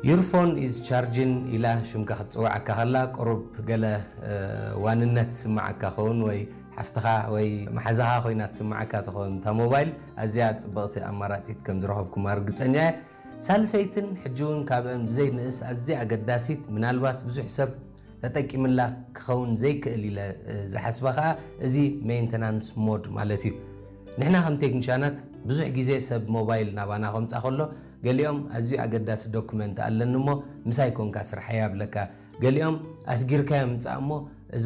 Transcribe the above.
Your phone is charging ኢላ ሽምካ ክትፅውዓካ ከላ ቁሩብ ገለ ዋንነት ትስምዓካ ኸውን ወይ ሓፍትኻ ወይ መሓዛኻ ኮይና ትስምዓካ ትኸውን እታ ሞባይል። ኣዝያ ፅብቕቲ ኣማራፂት ከም ዝረኸብኩማ ርግፀኛ እየ። ሳልሰይትን ሕጂ እውን ካብአን ብዘይንእስ ኣዝያ ኣገዳሲት፣ ምናልባት ብዙሕ ሰብ ተጠቂምላ ክኸውን ዘይክእል ኢለ ዝሓስባ ከዓ እዚ ሜንተናንስ ሞድ ማለት እዩ። ንሕና ከም ቴክኒሻናት ብዙሕ ግዜ ሰብ ሞባይል ናባና ከምፃ ከሎ ገሊኦም ኣዝዩ ኣገዳሲ ዶክመንት ኣለኒ እሞ ምሳይ ኮንካ ስርሓይ ኣብለካ፣ ገሊኦም ኣስጊርካዮ ምፃእ እሞ እዚ